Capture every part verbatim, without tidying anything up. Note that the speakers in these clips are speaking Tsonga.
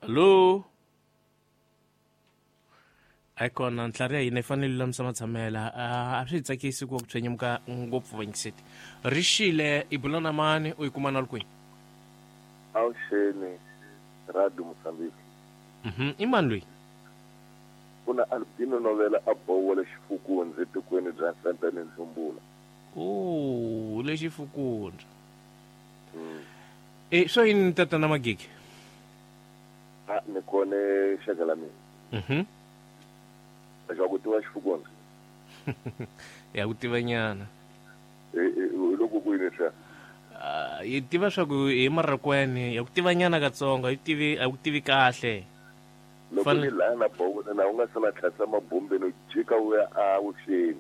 Hallo. Ayikona ntlhari ya hina yi fanele lulamisa matshamela. A swi hi tsakisi ku va ku tshwenyemuka ngopfu vanyiseti. Rixile i bula na mani u yi kuma na kwini? Awuxeni Radio Mozambique. Mhm, i mani loyi? Kuna Albino Novela a bowo le Xifukundzi etikweni bya Santana Nzumbula. Oh, le Xifukundzi. Mm. Eh, so yini tatana Magigi? Ah, ni kone xaka la mina. Mhm. Xa ku tiva Xifukundzi. Ya ku tiva nyana. Eh, eh, loko ku yini swa? Ah, yi tiva swa ku hi Marakwene, ya ku tiva nyana katsongo, yi tivi a ku tivi kahle. Loko ni laha na bowo na u nga se na tlhasa mabombeni u jika u ya avuxeni.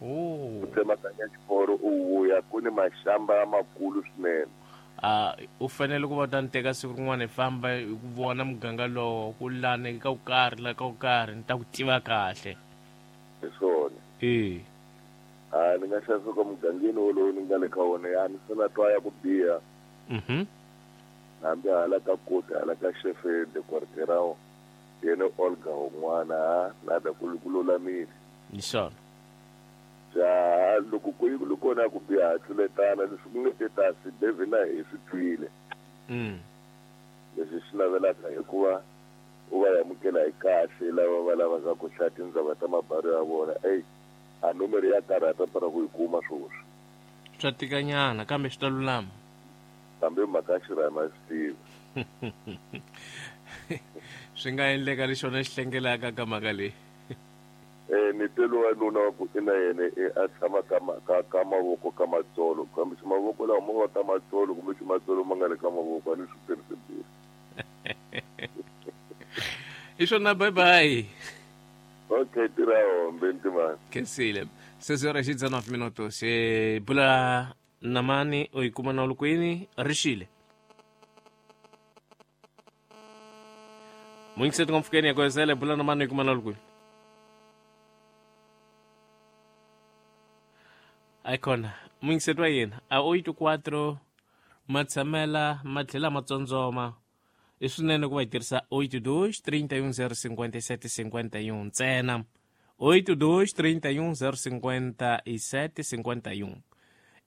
Oh. U tsemakanya xiporo u vuya ku ni maxamba makulu swinene. Ah, u fanele ku va ta ni teka siku rin'wana hi famba hi ku vona muganga lowo ku lani ka ku karhi la ka ku karhi ni ta ku tiva kahle. Hi swona. Eh. Ah, ni nga xasuka mugangeni wolowo ni nga le ka wona ya ni se na twa ya ku biha. Mhm. Hambi hala ka koti hala ka chefe de quartier yena Olga un'wana na da ku ku lulamile. Hi swona. Ja loko ku yi kona ku biha tluletana leswi ku nge te tasi David na hi swi twile. Mm. Leswi swi navelaka hikuva u va amukela hi kahle lava va lavaka ku hlaya tindzaba ta mabari ya vona. Ey, a nomoro ya karhata para ku yi kuma swoswi. Swa tikanyana kambe swi ta lulama. Kambe mhaka xirhama swi tiva. Swi nga endleka lexona xi hlengelaka ka mhaka leyi. Eh, ni telo wa nuna wa ku ina yena a tshama ka ka ka mavoko ka matsolo kambe xi mavoko lawa ma va ka matsolo kumbe xi matsolo ma nga le ka mavoko a ni swi tirhisi bile. I swona, bye bye. Okay, tirha hombe ntimani. Khensile. Sesora xi tsana minuto se bula na mani u yi kuma na lukwini rixile. Mungiseti ngomfukeni ya kwesele bula na mani u yi kuma na lukwini. Ayikona mungiseti wa yena a oito quatro matshamela matlhela matsondzoma i swinene ku va hi tirhisa oito dois trinta e um zero cinquenta e sete cinquenta e um ntsena oito dois trinta e um zero cinquenta e sete cinquenta e um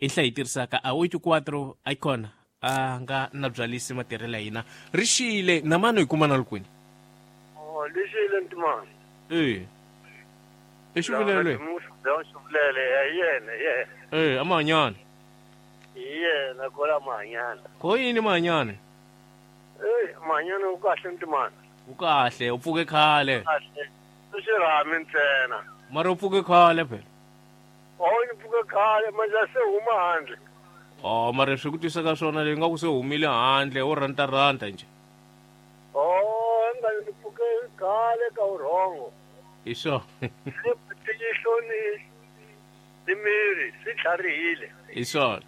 i nhlayo hi tirhisaka a oito quatro ayikona a nga na byalisi matirhelo ya hina rixile na mani u yi kuma na lukwini. Oh, lixile ntimani. Eh. I xivulelo leyi? Xivulele hi yena hi yena. Eh, a Mahanyana. Hi yena kola Mahanyana. Ko yini Mahanyana? Eh, Mahanyana u kahle ntimani. U kahle, u pfuke khale. Kahle. U xirhami ntsena. Mara u pfuke khale phela. Oh, ni pfuke khale, manje se huma handle. Oh, mara swi ku twisa ka swona leyi nga ku se humile handle u ranta ranta nje. Oh, nga ni pfuke khale ka urhongo. Hi swona. Tiyihlo ni ni miri swi tlharihile. Hi swona.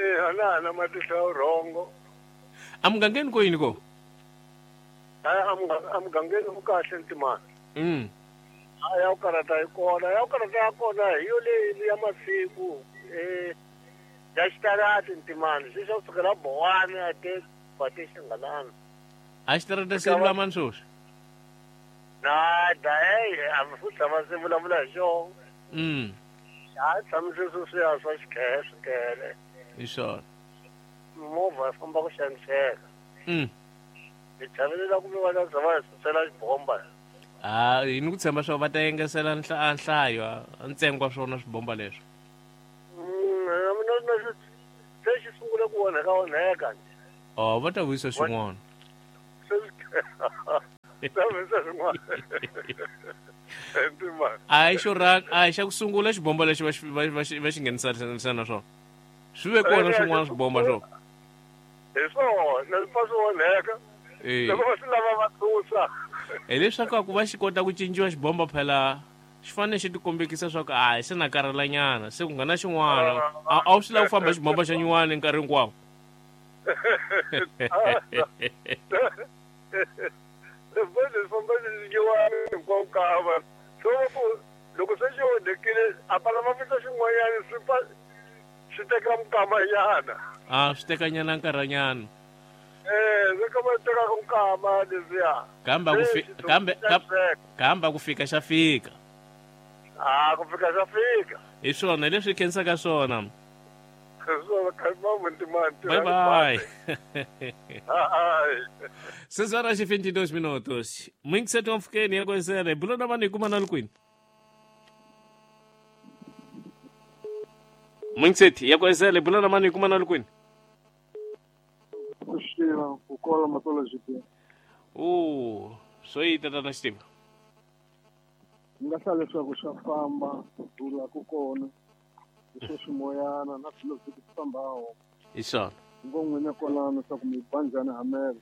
Eh, ana na matihlo ya urhongo. Amugangeni ko yini ko? Ah, amugangeni ku kahle ntimani. Mm. Ah, ya ku karata hi kona, ya ku karata ya kona hi yo leyi ya masiku eh ya xitarati ntimani, swi swa kusukela Bowana a te pate xingalana. A xitarata se lulamani swoswi? Nada, eh, a swi tshama swi vulavula hi xona. Mm. A tshamise sweswiya swa xikhele swikhele. Hi swona. Movha ya famba ku xaniseka. Mm. Hi chavelela kumbe va ta za va hi susela xibomba. Ah, hi ni ku tshemba swa va ta engesela nhlayo a ntsengo wa swona swibomba leswo. Mm, na na se xi sungule ku onheka onheka nje. Oh, va ta vuyisa swin'wana. Se vuyisa swin'wana. A hi xo ra a hi xa ku sungula xibomba lexi va xi va xi va xi nghenisa na swona. Swi ve kona swin'wana swibomba swona. Hi swona, swi pfa swi onheka. Loko va swi lava va susa. Hi leswaku ku va xi kota ku cinciwa xibomba phela xi fanele xi tikombekisa swa ku a se na karhalanyana se ku nga na xin'wana a wu swi lava ku famba xibomba xa nyuwani nkarhi hinkwawo. Leswi famba nyuwani hinkwawo kava so ku loko se xi onhekile a pala va fika xin'wanyana swi pfa swi teka mikamanyana. A swi tekanyana nkarhanyana. Eh, se kama tekaka nkama leswiya Kamba ku fi kambe kamba ku fika xa fika. Ah ku fika xa fika. Hi swona leswi khensaka swona. Swona kha muntimani. Bye bye. Ai. seis horas e vinte e dois minutos. Muito cedo um fiquei nem conhecer. Bulona mani kuma na lukwini. Muito cedo ya conhecer bulona mani kuma na lukwini. Kushira kukola matola G P. Oh, soi tata Steve. Nga sala leswaku swa famba dula ku kona. Leswi swimoyana na swilo swi fambaho. Hi swona. Ngo n'wina kwalano swa ku mi banjani hamela.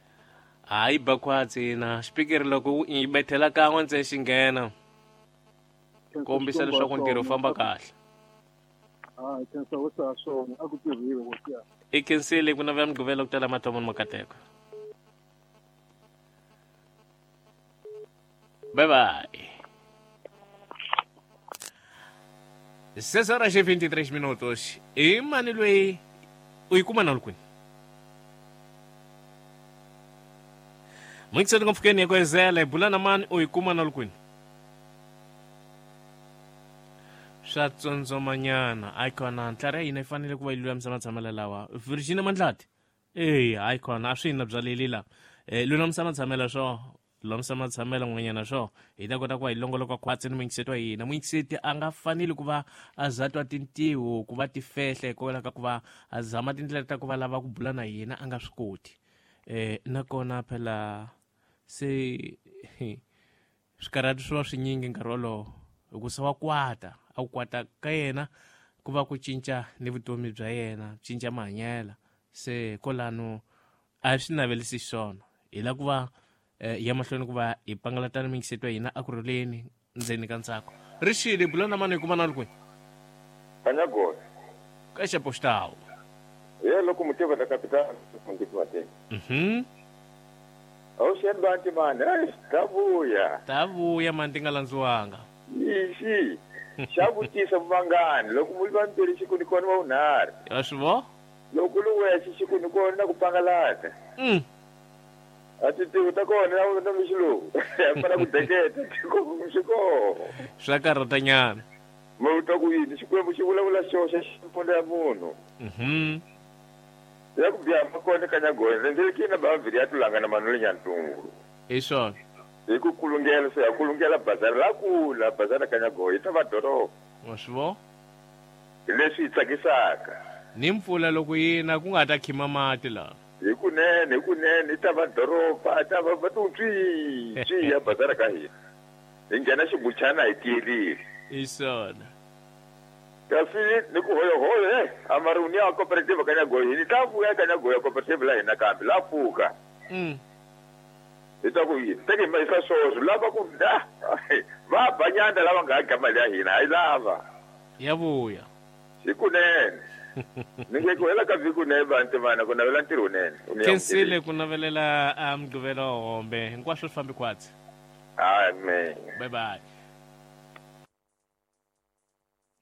Hayi bakwatsi na speaker loko yi bethela kan'we ntsena xi nghena. Kombisa leswaku ntirho wu famba kahle. Ah, khensa wo sa swona a ku tirhiwe wo tiya. I khensile ku navela Mugqivela ku tala mathomo ni makateko. Bye bye. seis horas e vinte e três minutos. E mani loyi u yi kuma na lukwini. Muito cedo com fiquei com Zé, bulana mani u yi kuma na lukwini. Swa tsondzomanyana a yi kona ntlhari ya hina yi fanele ku va yi lulamisa matshamelo lawa. Virginia Mandlati eya a yi kona a swi na bya leli la lulamisa matshamelo swo lulamisa matshamelo n'wanyana swo hi ta kota ku va hi longoloka khwatsi ni muyingiseti wa hina. Muyingiseti a nga faneli ku va a za twa tintiho ku va tifehle hikwalaho ka ku va a zama tindlela ta ku va lava ku bula na hina a nga swi koti. Eh nakona phela se swikarhati swi va swinyingi nkarhi wolowo hikusa wa kwata a ku kwata ka yena ku va ku cinca ni vutomi bya yena cinca mahanyelo se kolano a swi navelisi swona hi la ku va ya mahlweni ku va hi pangalatana muyingiseti wa hina a ku rhuleni ndzeni ka ntsako. Rixile bulana mani hi kuma na lukwini. Kanyagola ka xapoxitawu. Ye loko mutiva la capital mundikumateni. Mhm. Awuxeni banti mani ai ta vuya. Ta vuya mani ti nga landziwanga. Ixi xa vutisa vangani loko mu vambirhi xi ku ni kona wa vunharhu. Ya swi vo? Loko lu wexe xi ku ni kona na ku pangalata. Mm. A ti tivi ta kona na na mixilungu. Ya fana ku deketa xi koho. Swa karhatanyana. Ma u twa ku yini Xikwembu xi vulavula xoxe xi mpfundza ya munhu. Mhm. Ya ku biha makona Kanyagoya ndzi na baviri ya tulanga na manule nyantungu. Hi swona. Hi ku kulungela se ya kulungela bazari ra kula bazari ra Kanyagoya yi ta va doroba. Wa swi vo? Hi leswi hi tsakisaka. Ni mpfula loko yina ku nga ta khima mati laha. Hi kunene hi kunene yi ta va doroba ta va va tu tswi tswi ya bazari ka hina. Hi nghena xibuchana hi tiyerile. Hi swona. Kasi ni ku hoyohoyo eh amaruni ya cooperative Kanyagoya ni ta vuya Kanyagoya cooperative la hina kambe la pfuka. Mm. Hi ta ku yini teke ma isa swoswo lava ku da va banyanda lava nga ga mali ya hina hayi lava. Ya vuya. Hi kunene. Ni nge ku hela ka vhiki ne vantu vana ku navela ntirho nene. Khensile ku navelela a Mugqivela hombe hinkwaswo swi fambi khwatsi. Amen. Bye bye.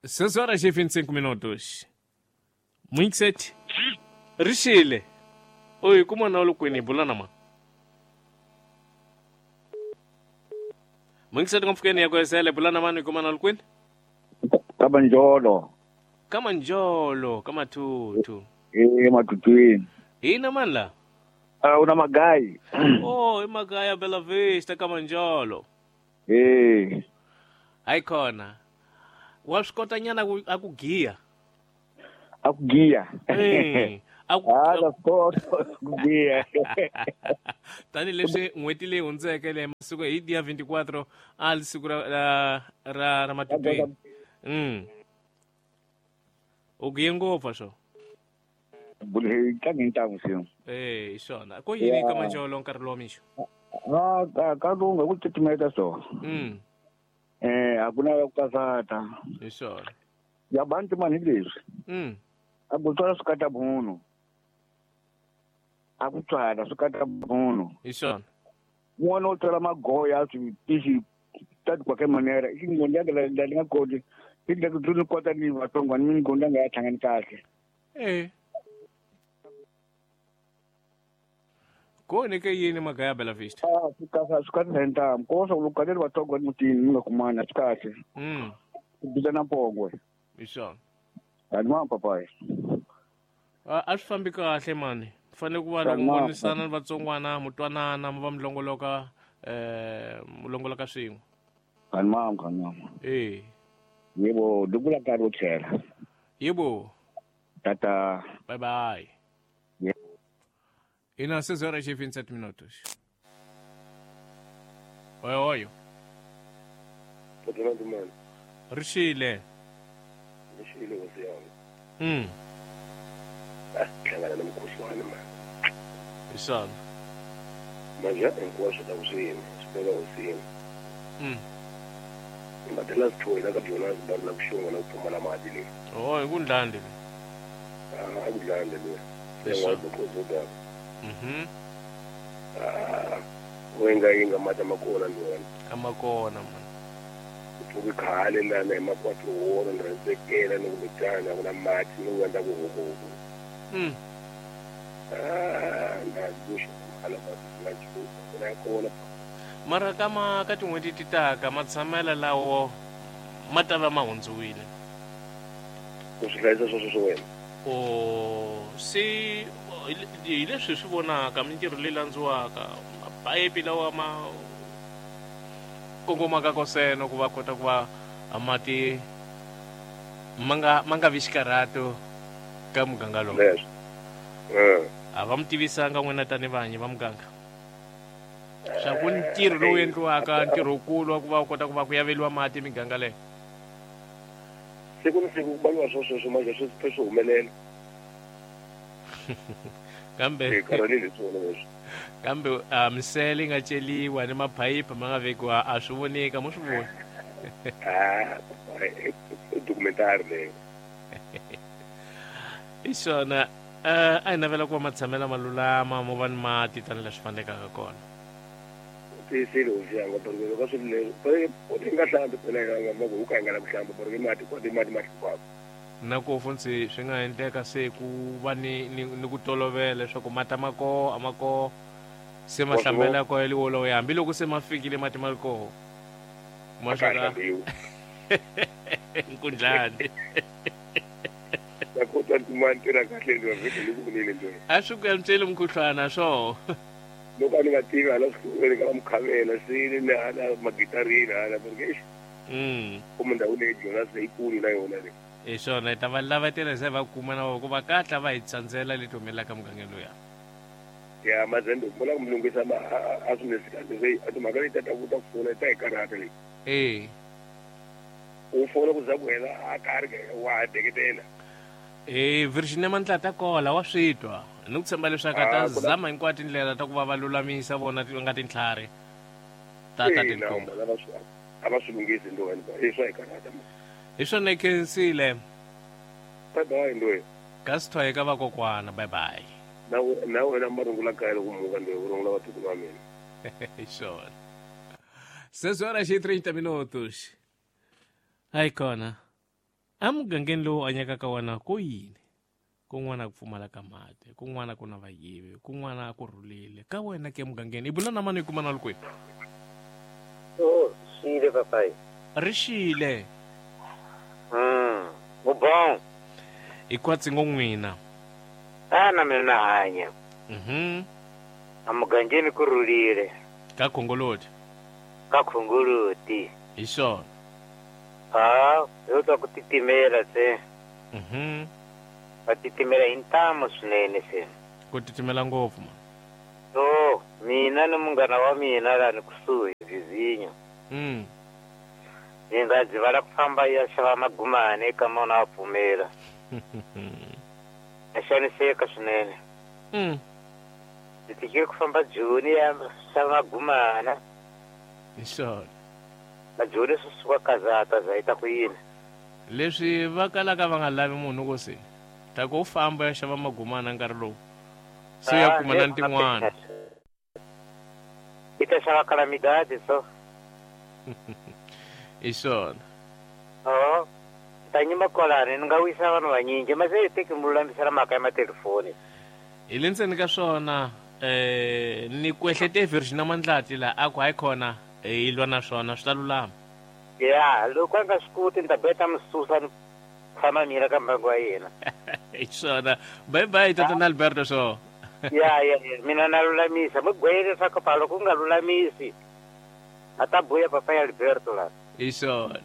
seis horas e vinte e cinco minutos. Muito cedo. Rixile. Oi, kuma na lukwini bulana ma. Muito cedo ngomfukeni ya kwesele bulana mani kuma na lukwini. Kamanjolo. Kamanjolo, kamatutu. Eh matutwini. Ina manla. Ah una magai. Oh, imagai ya Bela Vista Kamanjolo. Eh. Hayi khona. Wa swi kota nyana a ku giya. A ku giya. Eh. A ku ah la kota ku giya. Tani leswi n'hweti leyi hundzeke le masiku hi dia vinte e quatro a li siku ra ra ra matutwini. Mm. U giye ngopfu swo. Bule tlangi ntangu siyo. Eh, hi swona. Ko yini Kamanjolo nkarhi lowa mixo? Ah, ka ka lunga ku titimeta so. Mm. Eh, hakuna ku kasata. Hi swona. Ya bantu mani leswi. Mm. A ku tswala swi kata munhu. A ku tswala swi kata munhu. Hi swona. N'wana u tswala magoya swi tixi ta qualquer manera. I ngondza la la nga koti. I ndlela ku ni kota ni vatsongo ni ngondza nga ya hlangani kahle. Eh. Ku ni ke yini mhaka ya Bela Vista? Ah, swi kahle swi kahle hi ntamu. Ko swa ku loko kaneli vatsongo mutini mi nga kumani a swi kahle. Mm. Ku bisa na pongwe. Hi swona. Ani papayi. A a swi fambi kahle mani. Fanele ku va loko mi vonisana ni vatsongwana mi twanana mi va mi longoloka eh mi longoloka swin'we. Ani mama, ani mama. Eh. Yebo, dukula nkarhi wo tlhela. Yebo. Tata. Bye bye. Yeah. Ina seis horas e vinte e sete minutos. Oi, oi. Rixile. Rixile hosi yami. Mm. Ah, hlangana na mukhuhlwani mani. Hi swona. Manje hinkwaswo ta ku swi yini, swi veka hosini. Mm. Matela sithoyi la ka Jonas bani la ku xonga na ku pfumala mati leyi. Oh, hi ku ndlandi leyi. Ah, a ku ndlandi leyi. Hi swona. Mhm. Ah, wenga yinga mati ma kona ndona. A ma kona mani. Ku khale lana hi makwatro wona ni rhandzekela ni kumbexana ku na mati ni ku endla ku hukuhuku. Mm. Ah, na guxa hala mati na nchumu na kona. Mara ka ma ka tin'hweti ti taka matshamela lawo ma ta va ma hundziwile. Ku swi hlayisa sweswo swa wena. O se hi leswi hi swi vonaka mintirho leyi landziwaka mapayipi lawa ma kongomaka koseno ku va kota ku va mati ma nga ma nga vi xikarhato ka muganga lowu. Leswo. Eh. A va mi tivisanga n'wina tani vanyi va muganga. Swa ku ntirho lowu endliwaka ntirho wukulu wa ku va u kota ku va ku yaveliwa mati miganga leyo. Siku ni siku ku baliwa swo sweswo manje swi swi humelela. Kambe hi karhalile swona leswi. Kambe a misele yi nga celiwa ni maphayiphi ma nga vekiwa a swi vonika mo swi vona. Ah, i documentary leyo. Hi swona. A hi navela ku va matshamela ma lulama mo va ni mati tanihi leswi fanelekaka kona. Tiyisile hosi yanga porque loko swi leswi u ti nga hlambi phela nga ma ku ka nga la ku hlamba porque mati kwa mati ma hluphaka. Na ku funtsi swi nga endleka se ku va ni ni, ni ku tolovela leswaku mati ma koho a ma koho se ma hlambela ko ya wolowo hambiloko se ma fikile mati ma ri koho. Ma swi ka nkundlani. Na ku twa ntima ntirha kahle ndzi vhiki ni ku vunile ndzi. A swi ku yantswele mukhuhlwana swo. Loko a ni nga tivi hala swikolweni ka mukhavela sini ni hala magitarini hala porque mm. Ku ndhawu leyi Jonas leyikulu na yona leyi. Hi swona hi ta va lavatela se va kuma na vona ku va katla va hi tsandzela leti humelelaka mugangeni luya. Ya mazembe ku vula ku mi lunghisa ma a swi nge kahle se a timhaka leti ta ku ta pfuna ta hi karhata leyi. Eh. U fona ku za ku hela a karhi wa ha deketela. Eh, Virginia Mandla ta kola wa swi twa. Ni ku tshemba leswaku a ta zama hinkwato tindlela ta ku va va lulamisa vona ti nga tintlhari ta ta tintombi. A va swi lunghisi ndo hi swa hi karhata. Hi swona hi khensile. Bye bye ndoyi. Ka swi ka vakokwana bye bye. Na na wena marungula kaya loko muka ndoyi u rungula vatukulu va mina. Hi swona. Seis horas e trinta minutos. Hayi kona. Emugangeni lowu hanyaka wona ku yini? Kun'wana ku pfumala ka mati, kun'wana ku na vayivi, kun'wana ku rhulile. Ka wena ke emugangeni i bula na mani i kuma na ri kwihi? Oh, xile papai. Rixile. Mm, u bom. I kwatsi ngo n'wina. Ah, na mina na hanya. Mhm. Emugangeni ku rhulile. Ka Khongoloti. Ka Khongoloti. Hi swona. Ah, yo twa ku titimela se. Mhm. Va titimela hi ntamu swinene se. Ku titimela ngopfu ma. So, mina ni munghana wa mina laha ni kusuhi Vizinyo. Mm. Hi nga dzivala ku famba ya xava magumani eka mona wa pfumela. A xaniseka swinene. Mm. Ndzi tikile ku famba Joni ya xava magumana. Hi swona. Na Joni swi suka kazata za ita ku yini. Leswi va kalaka va nga lavi munhu ku se. Ta ku famba ya xava magumana nkarhi lowu. Se ya kuma na tin'wana. I ta xava calamidade so. Hi swona. Oh, ta nyima kwalani ni nga wisa vanhu vanyingi mase hi teki mi lulamisela mhaka ya matelefoni. Hi le ndzeni ka swona Eh ni kwehlete Virginia Mandlati la a ku hayi khona hi lwa na swona swi ta lulama. Ya loko a nga swi koti ni ta beta misusa ni tshama mina ka mbangu wa yena. Hi swona. Bye bye tatana Alberto so. Ya ya mina na lulamisa mi gwele leswaku pa loko u nga lulamisi a ta buya papa ya Alberto la. Hi swona.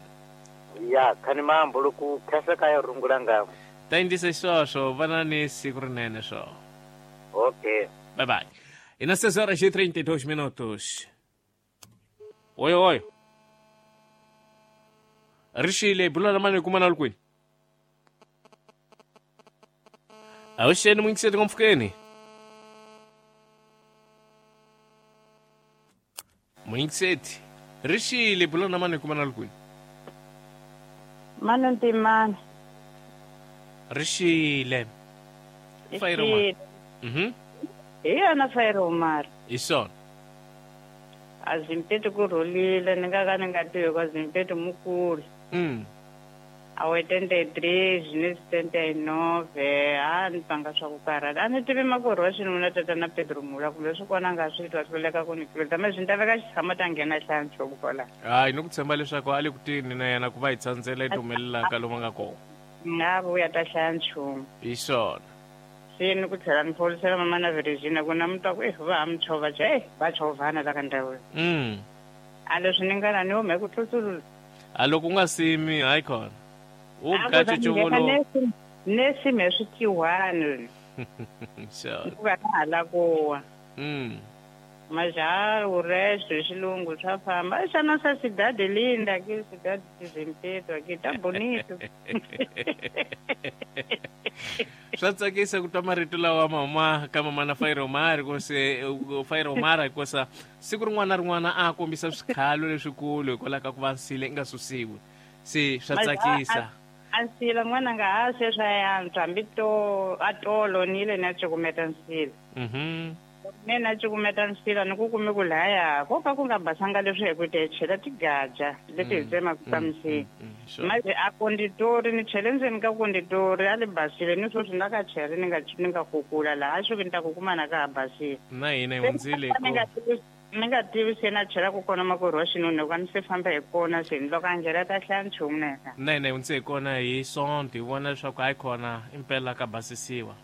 Ya khani mambo loko khasa ka ya rungula ngamo. Ta endlisa sweswo vana ni siku rinene swo. Okay. Bye bye. E nas seis horas e trinta e dois minutos. Oi oi. Rixile bula na mani kuma na lukwini. Awuxeni muyingiseti ngomfukeni. Muyingiseti. Rixile bula na mani kuma na lukwini. Mani ntimani. Rixile. Fairoma. Mhm. Hi yona Fairomar. Hi swona. A Zimpeto ku rhulile ni nga ka ni nga tivi ka Zimpeto mukulu. Mm. A oitenta e três, ni setenta e nove, a ni pfanga swa ku karhata. A ni tivi makwerhu wa xinuna tatana Pedro Mula kumbe swi kona a nga swi twa hluleka ku ni tluleta me swi ni ta veka xitshamo ta nghena hlaya nchumu kwalaho. Hayi ni ku tshemba leswaku a le ku tini na yena ku va hi tsandzela yi humelelaka lomu a nga kona. Nga vuya ta hlaya nchumu. Hi swona. Se ni ku tlhela ni pholisela mama na Virginia ku na mi twa ku eh va ha mi chovha je eh va chovhana la ka ndhawu. Mm. A leswi ni nga na ni hume ku tlutsulula. A loko u nga simi hayi khona. U gacha chuvulo. Ne sime swi tiwani. Sure. Ku va hala kuwa. Mm. Maja o resto xilungu swa famba. Essa nossa cidade linda aqui, cidade de Zimpeto aqui, tá bonito. Swa tsakisa ku twa marito lawa mama ka mama na Fairomar ku se Fairomar hikusa siku rin'wana na rin'wana a kombisa swikhalo leswikulu hikwalaho ka ku va nsile i nga susiwi. Se swa tsakisa. A nsila n'wana nga ha se swa yantswa hambi to a tolo ni le na cukumeta nsila. Mhm. Ne na cukumeta nsila ni ku kume ku laya ko ka ku nga basanga leswi hi ku te chela tigaja leti hi tsemaka ta misila. Manje a konditori ni chele ndzeni ka konditori a li basile ni sweswi na ka chere ni nga ni nga kukula laha a swi ni ta ku kuma na ka ha basile. Na hina hi hundzile ko. Ni nga tivi se na chela ku kona makwerhu wa xinuna ku a ni se famba hi kona se ni loko a nghena ta hlaya nchumu na yena. Na hina hi hundze hi kona hi Sonto hi vona leswaku hayi khona impela ka basisiwa.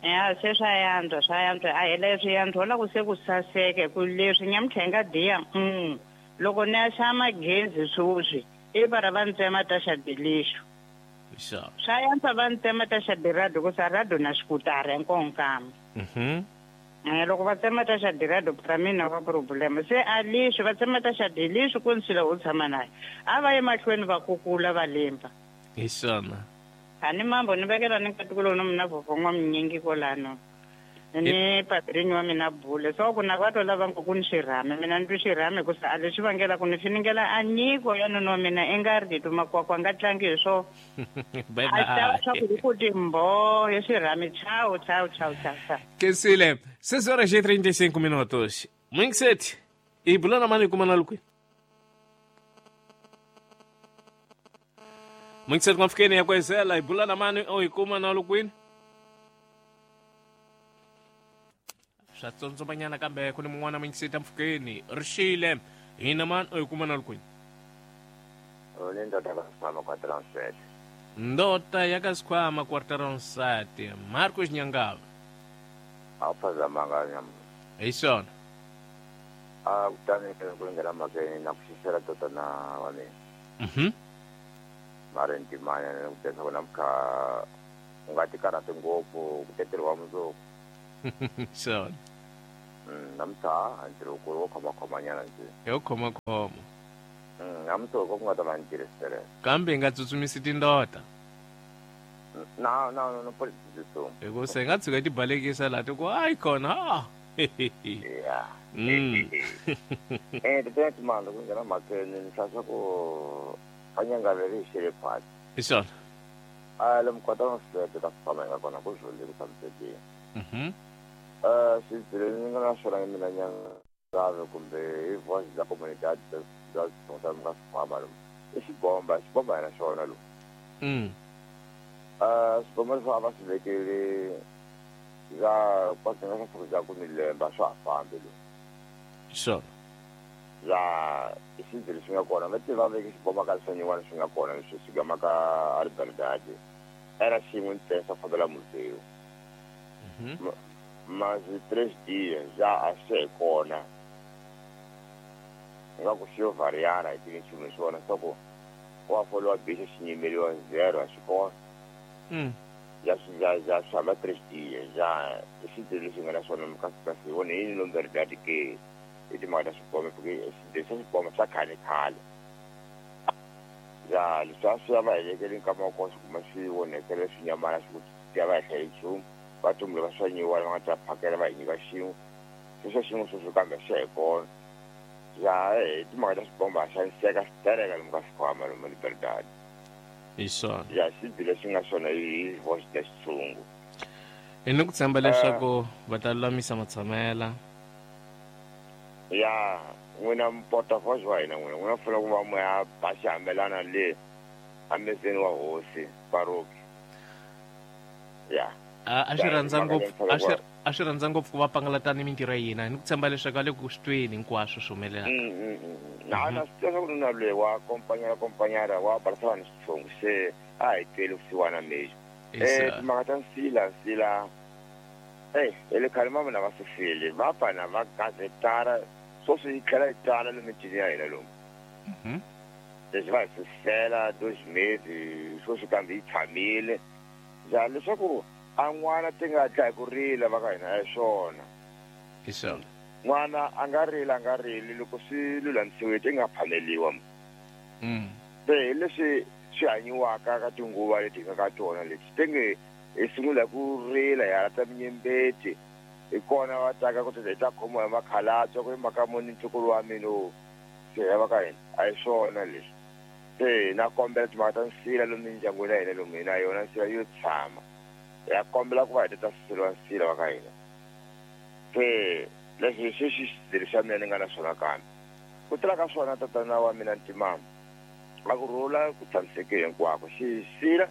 Ya se swa yantswa swa yantswa a hi leswi yantswa la ku se ku saseke ku leswi nyamuntlha hi nga diya mm loko ni ya xava magezi sweswi i va va ntsema ta xa dilixo. Sure. Swa yantswa va ntsema ta xa dirado ku sa rado na xikutara hinkwako. Mhm. Eh loko va tsema ta xa dirado pra mina va problema se a lixo va tsema ta xa dilixo ku nsila u tshama naye a va ye mahlweni va kukula va limba. Hi swona. Ani mambo ni vekela ni nkatikulo no mina vovho n'wa minyingi kolano ni padrinho wa mina bule so ku na va to lava ku ni xirhami mina ni twi xirhami ku sa a lexi vangela ku ni finingela a nyiko ya nuna wa mina i nga ri ti makwakwa nga tlangi hi swo. Bye A ta bye. swa ku ku timbo hi xirhami chao chao chao chao chao. Kensile, seis horas e trinta e cinco minutos. Muyingiseti, hi bula na mani kuma na lukwini. Muyingiseti n'wamfikeni ya kwezela hi bula na mani o hi kuma na lukwini. Swa tsondzomanyana kambe ku ni mun'wana muyingiseti mpfukeni rixile hina mani o hi kuma na lukwini. Ni ndoda ka Sikhwama quarteron sete. Ndota ya ka Sikhwama quarteron sete. Marcos Nyangava. A wu phazamanga nyama. Hi swona. A kutani ku nghena mhakeni na ku xixela tatana wa mina. Mhm. Mara ntimanya ni ku tesa ku namuntlha u nga ti karhati ngopfu ku teteriwa mundzuku. Swona. Mm, namuntlha a ntirho wukulu wo khomakhomanyana nje. Hi wo khomakhoma. Mm, namuntlha ku nga ta va ni tirhisele. Kambe hi nga tsutsumisi tindota. Na na no no politics. Hi ku se hi nga tshuka hi ti balekisa laha ti ku hayi khona. Ah. Yeah. Mm. Eh, tete timanga ku nghena mhakeni ni hlaya ku a nyanga leri hi xele phasi. Hi swona. A le mukota wa sete ka Sikhwama hi nga kona ku zwi ku tshamisekile. Mhm. Eh, swi ni nga na swona mina nyangave kumbe hi voice la comunidade da da nga Sikhwama lo. I xibomba, xibomba yena xona lo. Mm. Eh, xibomba leswi a va swi vekele Ya kwatena ka swa ku ni lemba swa fambi lo. Sure. Ya isindzi leswi nga kona va tiva veke xiboma ka swa leswi nga kona leswi swi gamaka Liberdade era xin'we ntsena swa fambela museu. Mas três dias já achei kona nga ku xi yo variana hi tini nchumu swona swa ku wa foliwa bixa xinyimeliwa zero a xi kona. Ya ya ya swa três dias já isindzi leswi nga na swona kasi kasi wona yini Liberdade ke i timhaka ta swiboma porque leswi swiboma swa khale khale ya leswi a swi ya va helekele nkama wa kona swi kuma swi onhekele swinyamana swi ku ya va hla hi nchumu va tumbule va swa nyiwa va nga ta phakela va hi nyika xin'we sweswo xin'we sweswo kambe swi hi kona ya hi timhaka ta swibomba xaniseka switereka lomu ka swikhwama lomu Liberdade. Hi swona ya xibyi lexi nga swona hi voice ya xitshungu hi ni ku tshemba leswaku va ta lulamisa matshamela ya n'wina porta-voz wa hina n'wina n'wina fanele ku va mo ya ba xihambelana le amezeni wa hosi Baroki ya a swi rhandza ngopfu a swi a swi rhandza ngopfu ku va pangalatana mintirho ya hina ni ku tshemba leswaku a le ku swi tweni hinkwaswo swi humelelaka. Na na swi tiva ku na loyi wa kompanyara kompanyara wa barisa vanhu xitshungu se a hi tweli kusiwana mexo eh timhaka ta nsila nsila eh ele khale mama na va sufile va pfana va gazetara sweswi yi tlhela yi tala lomu mitini ya hina lomu. Leswi va hi susela dois meses sweswi kambe yi tshamile ya leswaku a n'wana ti nga dlayi ku rila va ka hina a hi swona. Hi swona n'wana a nga rila a nga rili loko swi lulamisiwe ti nga phameliwa. Se hi leswi swi hanyiwaka ka tinguva leti hi nga ka tona leti ti nge hi sungula ku rila hi halata minyembeti hi kona va taka ku hi ta khomiwa hi makhalabya ku i mhaka muni ntukulu wa mina o se ya va ka hina a hi swona leswi. Se na kombela timhaka ta nsila lomu mindyangwini ya hina lomu hina yona nsila yo tshama ya kombela ku va hi ta suseliwa nsila wa ka hina. Se leswi xi xi xidzelo xa mina ni nga na swona kambe ku tela ka swona tatana wa mina Ntimama a ku rhula ku tshamiseke hinkwako xisila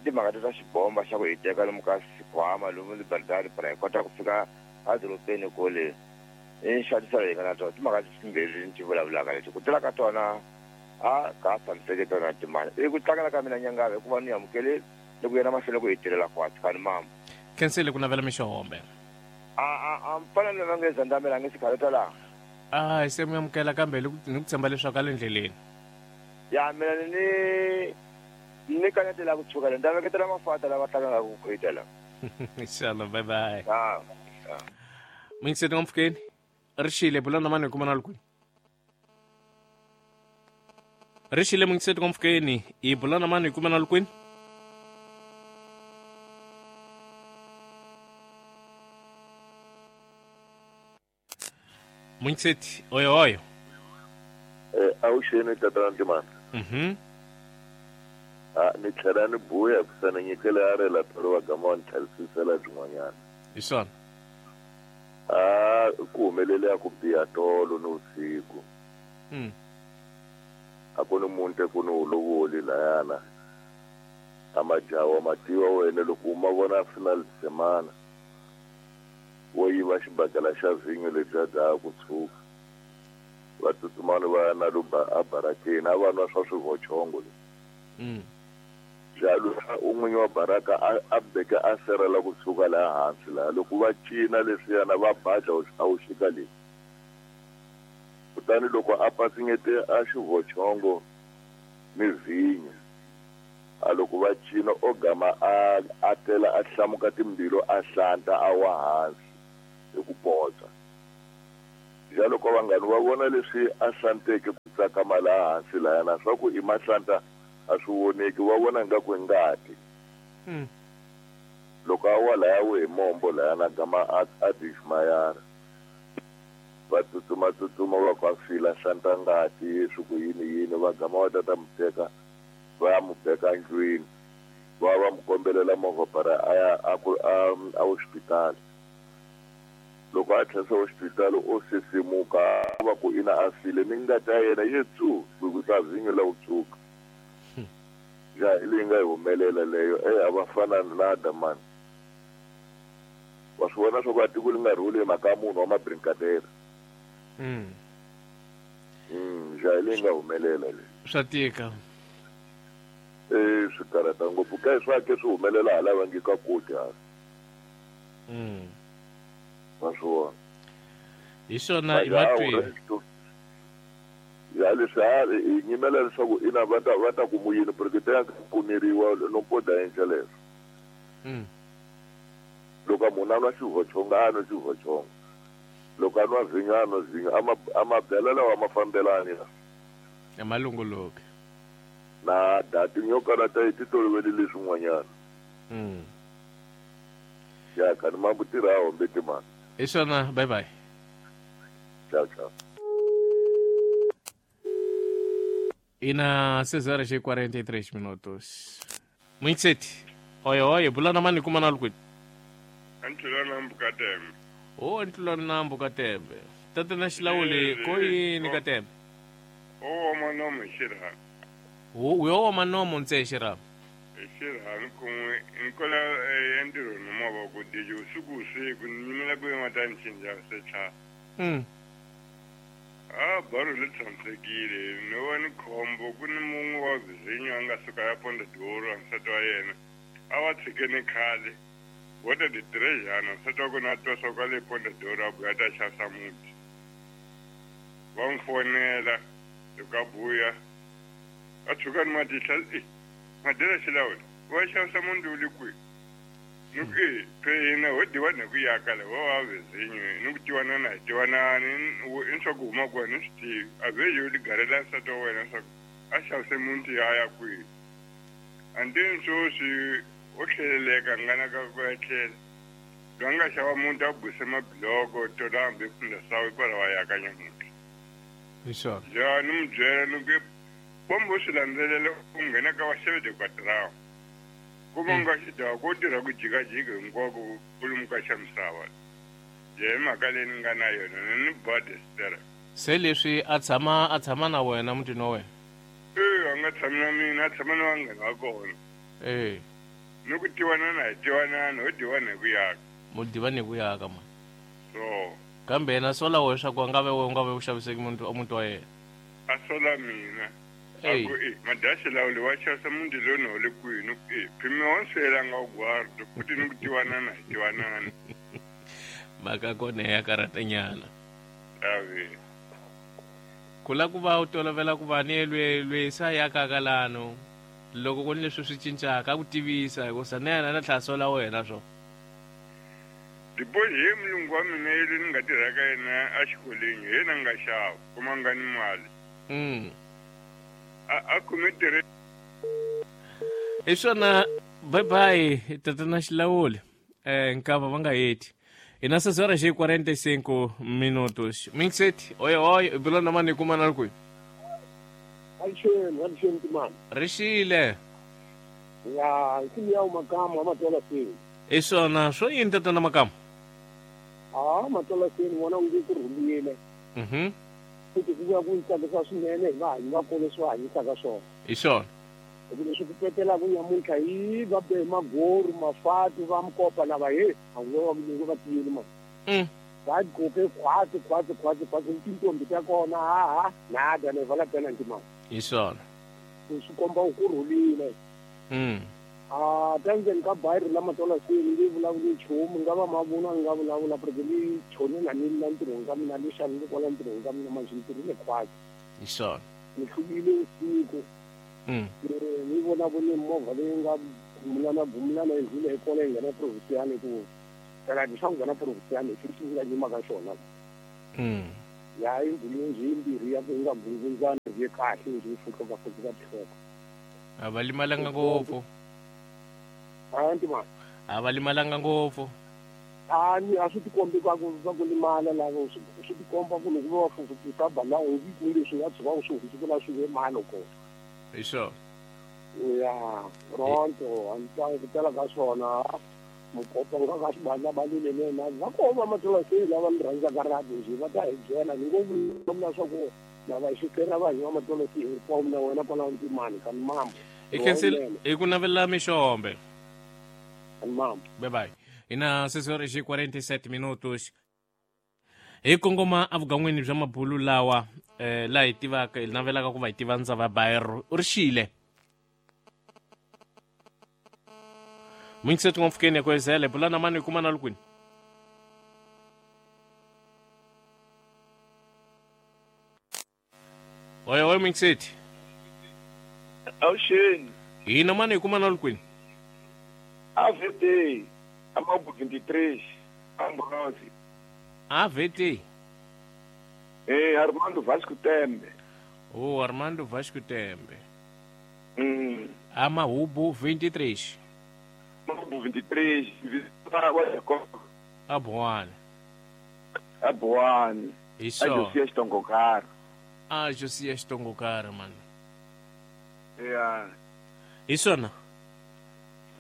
timhaka ta xibomba xa ku hi teka lomu ka xikhwama lomu Liberdade para hi kota ku fika edorobeni kole i nxaniselo hi nga na tona timhaka timbirhi ni ti vulavulaka leti ku tela ka tona a ka tshamiseke tona timali i ku tlangela ka mina nyangava hikuva ni amukele ni ku yena mahlweni ku hi tirhela kwatsi kani mama khensile ku navela mixohombe a a a mfana loyi va nge zandamela a nge sikhaleta laha a hi se mi amukela kambe ni ku tshemba leswaku a le ndleleni ya mina ni ni kanetela ku tshuka le ni ta veketela mafata lava tlangaka ku khwetela. Inshallah, bye bye. Ah. Mingiseti nga mpfukeni ri xile bula na mani hi kuma na kwini ri xile mingiseti nga mpfukeni hi bula na mani hi kuma na kwini. Mingiseti oyo oyo eh awuxeni tatana Ntimana. Mhm. A ni tlhela ni buya kusana nyikele a rela tolo wa gama ni tlhelisela byin'wanyana. Hi swona a ku humelele ya ku biha tolo ni vusiku. Mm. A ku ni muntu ku ni ulovoli layana a majaha ma tiva wena loko u ma vona final semana wo yiva xibakela xa vhinyo lebyiya bya ku tshuka va tsutsumani va ya na lo a barakeni a va nwa swa swivochongo leswi. Mm. Jalo un'winyi wa baraka a beka a serela ku tshuka laha hansi laha loko va cina leswiyana va badla a wu xika leyi kutani loko a patsingete a xivochongo ni vhinyo a loko va cina o gama a a tela a hlamuka timbilu a hlanta a wa hansi hi ku potsa. Jalo ko vanghani va vona leswi a hlanteke ku tsakama laha hansi lahayana swa ku i mahlanta a swi voneki va vona nga ku i ngati. Loko a wa laya we hi mombo layana gama a a dixmayara va tsutsuma tsutsuma va ku a fila hlanta ngati swi ku yini yini va gama va tata mu teka va ya mu beka ndlwini va va mu kombelela movha para a ya a ku a a hospitali. Loko a tlhela hospitali o sisimuka va ku ina a file ni ngati ya yena yi tsu ku ta vhinyo la ku tshuka. Ya hi leyi nga yi humelela leyo e a va fana na Adamani. Wa swi vona swa ku a tiko li nga rhuli hi mhaka ya munhu wa mabrinkadera. Mm. Mm, ja leyi nga humelela leyi. Swa tika. Eh, swi karhata ngopfu ka swa ke swi humelela hala va nge ka koti hala. Mm. Wa swi vona. Hi swona i matwi. Ya leswi a hi nyimela leswaku ina va ta va ta ku yini porque ta pfuneriwa no poda endla leswo. Mm. Loko munhu a nwa xivhochonga a nwa xivhochonga. Loko a nwa vhinyo a nwa vhinyo a ma a mabyalwa lawa ma fambelani la. Ya malongoloki. Na dati yo karata yi ti tolovele leswin'wanyana. Mm. Ya ka ni mambu tirha hombe timali. Hi swona, bye bye. Ciao ciao. Ina seis horas e quarenta e três minutos. Muito cedo. Oi, oi, bulana mani kuma na lukwini. Antlula nambu katembe. Oh, antlula nambu katembe. Tata na xilawuli ko yini katembe? O manomo xirha. O uyo manomo ntse xirha. Xirha nkunwe nkola endiro no mava ku dije usuku usiku nyimela ku matani chinja secha. Mm. Ah, baro le tshamisekile no wa ni khombo ku ni mun'we wa vizinyo a nga suka ya ponda doro nsati wa yena a va tshikene khale wo ta ditirejana nsati wa kona a twa swa kwale ponda doro a buya ta xavisa muti va n'wi fonela loko a buya a tshuka ni matihla e madela xilawula wa xavisa muti wu le kwihi ni ku e phe hina ho diwa na ku yaka la wa wa vizinyo ni ku tiwanana hi tiwanani i swa ku huma kona ni swi tivi a ve yo ligarela nsati wa wena swa ku a xavise muti ya ya kwihi and then sweswi o tlheleleka ngana ka ku ya tlhela loyi a nga xava muti a buse mabiloko tola hambi pfunda sawu hikwalaho a yaka nyamuntlha hi swona ja ni n'wi byela ni ku bombo swi landzelela u nghena ka vaxavede kwadrawu kuma nga xidaka ko tirha ku jikajika hinkwako ku lomuka xa misava je hi mhaka leyi ni nga na yona ni ni badestera se leswi a tshama a tshama na wena mutini wa wena e a nga tshami na mina a tshama na vanghana va kona e ni ku tiwanana hi tiwanana ho diwana hi ku yaka mo diwa ni ku yaka ma so kambe yena sola wehe swa ku a nga ve we u nga ve u xaviseki muti muti wa yena a sola mina aku e madashi lawuli wa xavisa muti lowu ni hole kwihi ni ku e phimi wa nswelanga u guardo futhi ni ku tiwanana hi tiwanana mhaka kona ya karhatanyana ave ku la ku va u tolovela ku va ni lwe lwe sa yakaka lano loko ku ni leswi swi cincaka a ku tivisa hikusa na yena na tlhela sola wena swo dibohi hi mulungu wa mina yele ni nga tirhaka yena exikolweni hi yena nga xava kuma nga ni mali mm. a kume tirhe hi swona bye bye tatana xilawuli eh nkava va nga heti ina seis horas e quarenta e cinco minutos mixet oi oi bulana mani kuma na kwihi Alixeni alixeni timani rixile ya nsimu ya makamu amatola seni hi swona swo yini tatana makamu a matola seni vona nge ku rhulile mhm futhi ku vuya ku ni tsakisa swinene hi vahanyi va kona leswi va hanyisaka swona hi swona hi ku leswi ku petelaka nyamuntlha hi va be magoru mafati va mkopa lava he a ngo va ngo va tiyeli ma mm. va gqoke khwatsi khwatsi khwatsi khwatsi tintombi ta kona ha ha nada ne vala tena ntimani hi swona swi komba ku rhulile mm. a tanzeni ka bayiri la matola seni nge vulavuli nchumu nga va mavunwa ni nga vulavula porque ni choni na ni la ntirhweni ka mina ni xavile kwala ntirhweni ka mina manjhe ni tirhile khwatsi hi swona ni hluvile usiku mm. ni vona ku ni movha leyi nga gumulana gumulana yi ndlule hi kona yi nghena provincial ku phela swa ku nghena provincial hi xi nga nyima ka xona mm. ya yi ndlule njhe yimbirhi ya ku yi nga gungundzani yi kahle njhe yi fuhluka fuhluka tihloko a va limalanga ngopfu a ntima a va limalanga ngopfu a ni a swi tikombi ka ku va ku limala lavo swi tikomba ku loko va fufukisa bala u ku leswi nga tshuka u swi hundzukela swi ve malo kona hi swona ya pronto a ni twa ku tala ka swona mukopa nga ka xibandla balile nena va koho va matola seni lava ni rhandzaka rhabi njhe va ta hi byela ni ngo vulavula swa ku lava xikela vanhu va matola seni hinkwawo na wena kwalaho ntimani ka ni mambo hi khensile hi ku navela mixombe ka ni mambo bye bye. Ina seis horas e quarenta e sete minutos. Hi kongoma evugan'wini bya mabulu lawa eh laha hi tivaka hi navelaka ku va hi tiva ndzava ya bairro u ri xile. Mwingiseti ngomfukeni ya kwezele bulana mani kuma na lukwini. Oye oye mwingiseti. Awuxeni. Hina mani kuma na lukwini. A V T Amabu vinte e três Ambrose. A V T. Eh Armando Vasco Tembe. Oh Armando Vasco Tembe. Hum. Amahubu vinte e três. vinte e três, Abuane. Abuane. Isso. A Josias Tongokara. Ah, Josias Tongokara, mano. Yeah. Isso, não.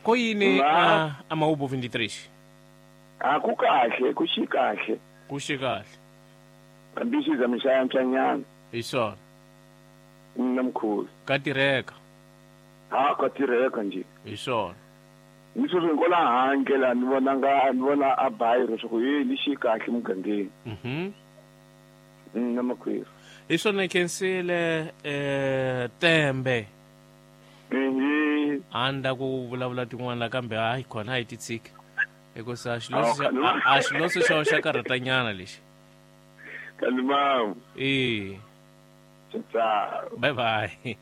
Koyini a Amahubu vinte e três? Ah, kukahle, kushikahle. Kushikahle. Ambisi zamishaya mchanyana. Isso. Namkhulu. Katireka. Ah, katireka nje. Isso. Nisho ngola handle la ni vona nga ni vona a bairro swa ku yi ni xi kahle mugangeni. Mhm. Na makweri. Hi swona khensile eh Tembe. Mhm. Anda ku vulavula tin'wana kambe hayi khona hi titsiki. Hikusa xiloso a xiloso xa xa karhatanyana lexi. Kalimam. Eh. Tchau. Bye bye.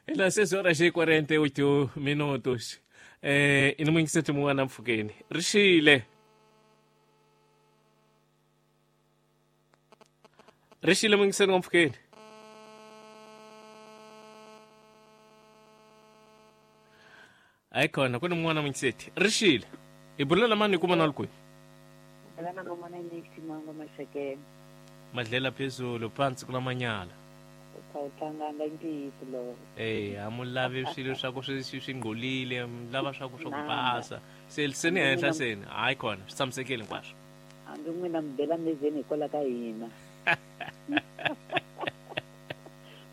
Ela seis horas e quarenta e oito minutos. Eh ina mwingiseti mun'wana mpfhukeni ri xile ri xile mwingiseni wa mpfhukeni hayi khona ku ni mun'wana mwingiseti ri xile hi bulela mani hi kuma na lukweni madlela phezulu phansi kulamanyala Eh, a mu lavi swilo swa ku swi swi ngcolile, mu lava swa ku swa ku basa. Se se ni henhla seni, hayi khona, swi tshamisekile hinkwaswo. Hambi n'wina mi bela mezeni hikwalaho ka hina.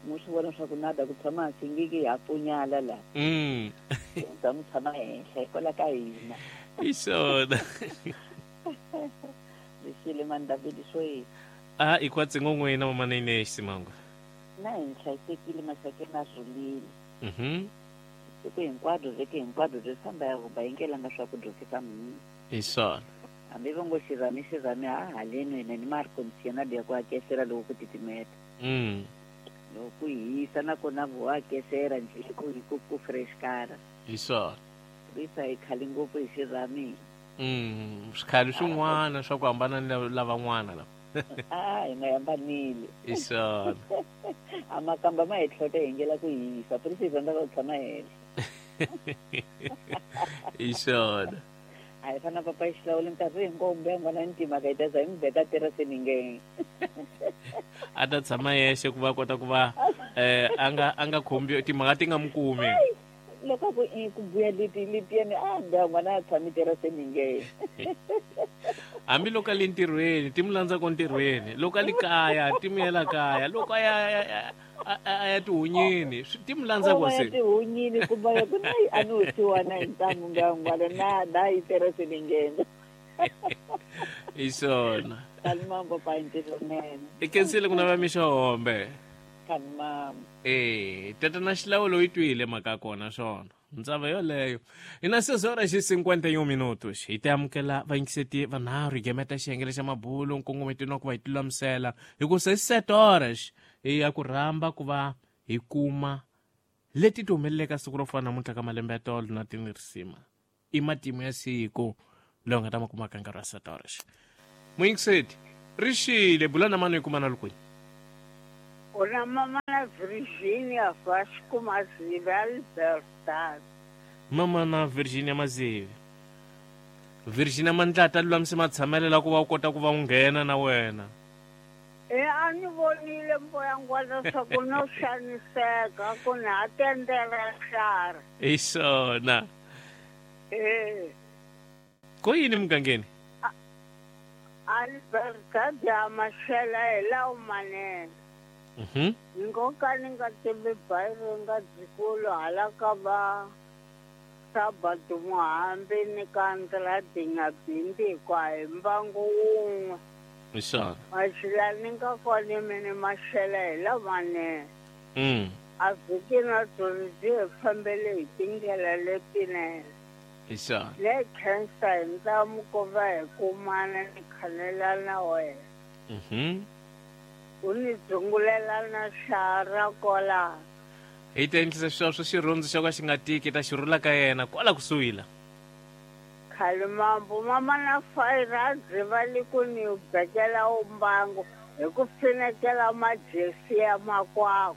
Mu swi vona swa ku nada ku tshama hansi ngiki ha pfunyala la. Mm. Ta mu tshama henhla hikwalaho ka hina. Hi swona. Lexile mani David swo yini? Ah, i kwatsi n'wina mama Nene Simango. Na hi hlayisekile maxakeni a rhulile. Mhm. Siku hinkwabyo vhiki hinkwabyo byi famba ya huba yi ngelanga swakudya fika mhini. Hi swona. Hambi va ngo xirhami xirhami ha haleni hina ni ma ri conditioner ya ku hakesela loko ku titimeta. Mm. Loko ku hisa nakona vo hakesela njhe ku ku ku fresh kara. Hi swona. Risa hi khale ngopfu hi xirhami. Mm, swikhale swin'wana swa ku hambana ni lavan'wana lava. Ah, hi nga hambanile. Hi swona. A makamba ma hi tlhota hi ngela ku hisa, prisi hi rhandza ku tshama henhla. Hi swona. A hi fana papa hi xilawula nkarhi hinkwawo mbe n'wana ni timhaka hi ta za hi n'wi beka terasini nge. A ta tshama yexe ku va kota ku va eh a nga a nga khombi timhaka ti nga n'wi kumi. Loko ku i ku buya leti letiyani a mbe n'wana a tshami terasini nge. Hambi loko a le ntirhweni ti n'wi landza ko ntirhweni, loko a le kaya ti n'wi yela kaya, loko a ya a ya tihunyini ti n'wi landza ko se. Tihunyini kumbe ya ku na a ni wusiwana hi ntamu ngangwana na na yi terasini nge. Hi swona. Kalimambo pa ntirho nene. I khensile ku nava mixo hombe. Kalimambo. Eh, tatana xilawulo yi twile mhaka kona swona. Ndzava yoleyo. Ina seis horas e cinquenta e um minutos. Hi ta amukela vayingiseti vanharhu hi gemeta xiyengele xa mabulu nkongometweni wa ku va hi tilulamisela hi ku se sete horas hi ya ku rhamba ku va hi kuma leti ti humeleleka siku ro fana namuntlha ka malembe ya tolo na tinirisima. I matimu ya siku lowu nga ta ma kumaka nkarhi wa sete horas. Muyingiseti, ri xile bula na mani hi kuma na lukwini. Una mama na Virginia Vasco Mazive Albertad. Mama na Virginia Mazive. Virginia Mandlata lulamise matshamelo la ku va u kota ku va u nghena na wena. E a ni vonile mboya ngwana swa ku no xaniseka ku ni ha tendela xara. Hi swona. Eh. Ko yini mugangeni? Albertad ya Mashela hi lawo manene. Mhm. Ni ngo ka ni nga tivi bayiro nga dzikulu hala ka va Sabado Muhambi ni ka Andradinga Bindi kwa hi mbangu wun'we. Hi swona. Maxila ni nga kona mini maxela hi lamanene. Mm. A vhiki na byona byi hi fambele hi tindlela letinene. Hi swona. Le khensa hi ntamu ku va hi kumana ni khanela na wena. Mhm. U ni dzungulela na xara kwala. Hi ta endlisa sweswo xirhundzu xo ka xi nga tiki ta xi rhula ka yena kwala kusuhi la. Khalimambu mama na fayira dziva li ku ni bekela umbango hi ku finekela majesi ya makwako.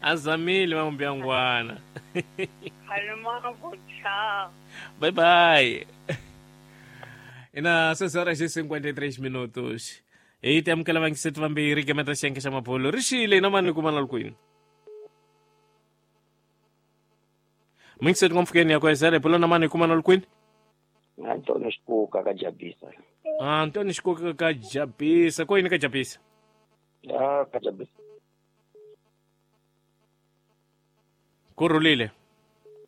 A zamile mambyangwana. Khalimambu cha. Bye bye. Ina seis horas e cinquenta e três minutos. Hi ta amukela vangiseti vambirhi gemeta xiyenge xa mabolo ri xile na mani kuma na kwini. Mingiseti ngomfukeni ya kwezele bolo na mani kuma na kwini. Antônio Xikuka ka Jabisa. Ah, Antônio Xikuka ka Jabisa. Ko yini ka Jabisa? Ah, ka Jabisa. Ku rhulile.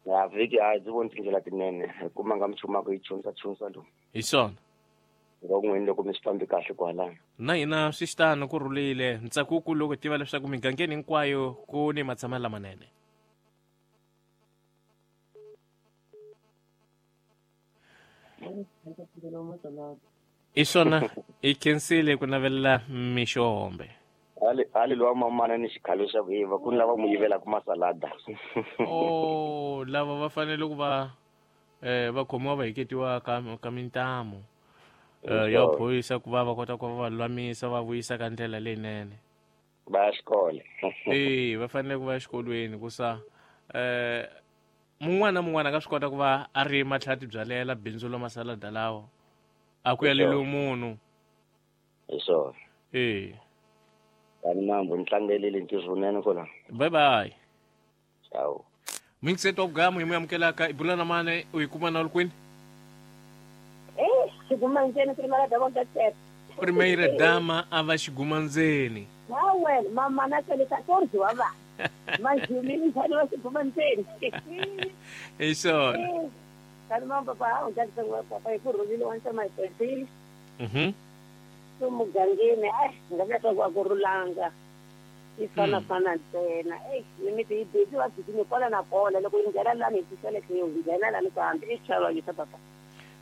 Ya vhiki a ndzi voni tindlela tinene hikuva nga mi chumaka yi chunsa chunsa lo. Hi swona. Van'wini loko mi swi fambi kahle kwalano. Na hina swi xitano ku rhulile ntsako ku loko tiva leswaku migangeni hinkwayo ku ni matshamelo lamanene. Hi swona hi khensile ku navelela mixombe. Ali ali lowa mamana ni xikhalo xa ku yiva ku ni lava mu yivelaka masalada. Oh, lava va fanele ku va eh va khomiwa va heketiwa ka ka mintamu. Eh ya phorisa ku va va kota ku va lulamisa va vuyisa ka ndlela leyinene. Va ya xikolo. Eh va fanele ku va exikolweni ku sa eh mun'wana na mun'wana a nga swi kota ku va a ri matlhati byalela bindzu lo masalada lawa. A ku yaleli munhu. Hi swona. Eh. Tani mambo ni tlangelile ntirho wunene kwala. Bye bye. Ciao. Mingiseto gamu hi amukelaka ibula na mane u yi kuma na kwini? Eh, xigumandzeni primeira dama da tete. Primeira dama a va xigumandzeni. Hawe, mama na tsele quatorze wa va. Mas mi wa xigumandzeni. Hi swona. Tani mambo papa, u ndzi tsanga papa hi ku rhulile wa ntsa mai twenty. Mhm. Mugangeni ai nga vula swa ku rhulanga yi fana fana ntsena ei mimiti yi busy va busy kwala na kona loko yi nghena lani hi tisele yi nghena lani kambe i xichava yisa papa.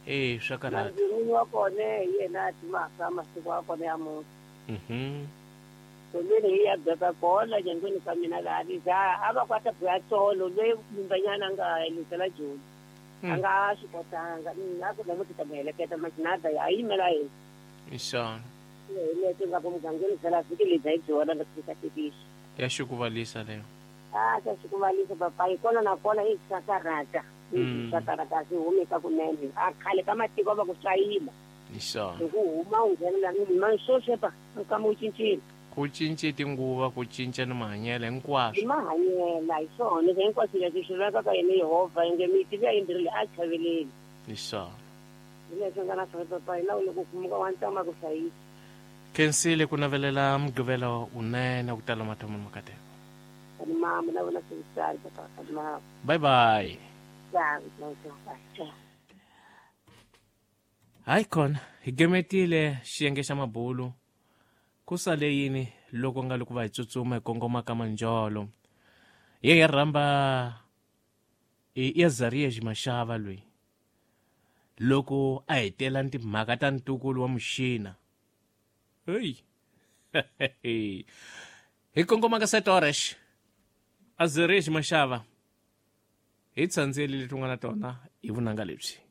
Eh swa karhata. N'winyi wa kona hi yena a timaka masiku ya kona ya muti. Mhm. Tolweni hi ya beka kona nyangweni ka mina laha za a va kwata buya tsolo loyi mumbanyana a nga helisela Joni. A nga swi kotanga a ku namuntlha ta mu heleketa majinada a yimela yena. Hi swona. Ya xikuvalisa leyo. Ah, xa xikuvalisa papa hi kona na kona i xakarata. Xakarata swi humeka kunene. A khale ka matiko va ku swayima. Hi swona. Hi ku huma u nghena la sweswi pa nkama u cincile. Ku cince tinguva ku cinca ni mahanyelo hinkwaswo. Hi mahanyelo hi swona hinkwaswo leswi swi vekaka yena Yehovha inge miti liya yimbirhi a chaveleli. Hi swona. Hi leswi nga na swona papa hi laha loko kumuka wa ntama ku hlayisa. Khensile ku navelela mugqivelo wunene ku tala mathomo makateko. Mama na vona swi papa mama. Bye bye. Hayi khona hi gemetile xiyenge xa mabulu. Ku sale yini loko nga loko va hi tsutsuma hi kongoma ka manjolo. Ye hi rhamba i Azaria Mashava loyi. Loko a hetela timhaka ta ntukulu wa muxina. Hey. Hi kongoma ka sete horas. Azaria Mashava. Hi tsandzeli leti nga na tona hi vunanga lebyi.